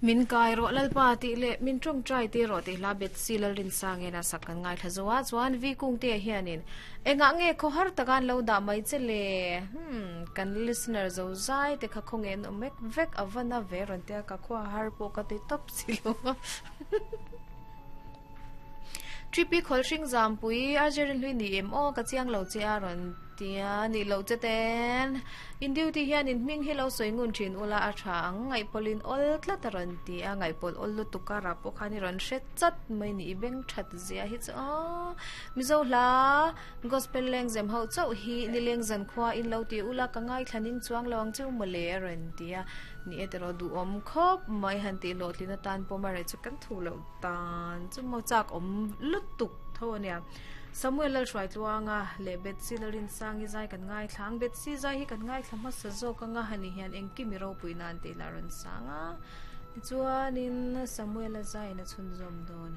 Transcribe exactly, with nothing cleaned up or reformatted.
Min kai ro lalpa ti le min tong trai ti ro ti hla bet si lal rin sang ena sak kan ngai tha zowa chuan vi kung te hianin enga nge kho har takan lo da mai chele hmm kan listener zo zai te kha khong en omek vek awana ve ron te ka kho har po ka ti top silo tripi khol hring zam pui arjerin hlui ni em o ka chiang lo che a ron tia ni lo che ten in duty hian in hming hi lo soingun thin ula a tha ang ngai polin ol tlat ron ti a ngai pol ol lu tukara po khani ron hre chat mai ni beng that zia hi chu mizo hla gospel leng zem ho chau hi ni leng zan khwa in lo ti ula ka ngai thlaning chuang lawang chu male ron tia ni etero du om khop mai han ti lo tlina tan pomare chu kan thu lo tan chu mo chak om lutuk tho ania Samuel lal hruai tluanga le bet silarin sangi zai kan ngai thlang bet si zai hi kan ngai thlama sa zo ka nga hani hian engki mi ro pui nan te la ron sanga chuanin Samuel a zai na chhun zom don.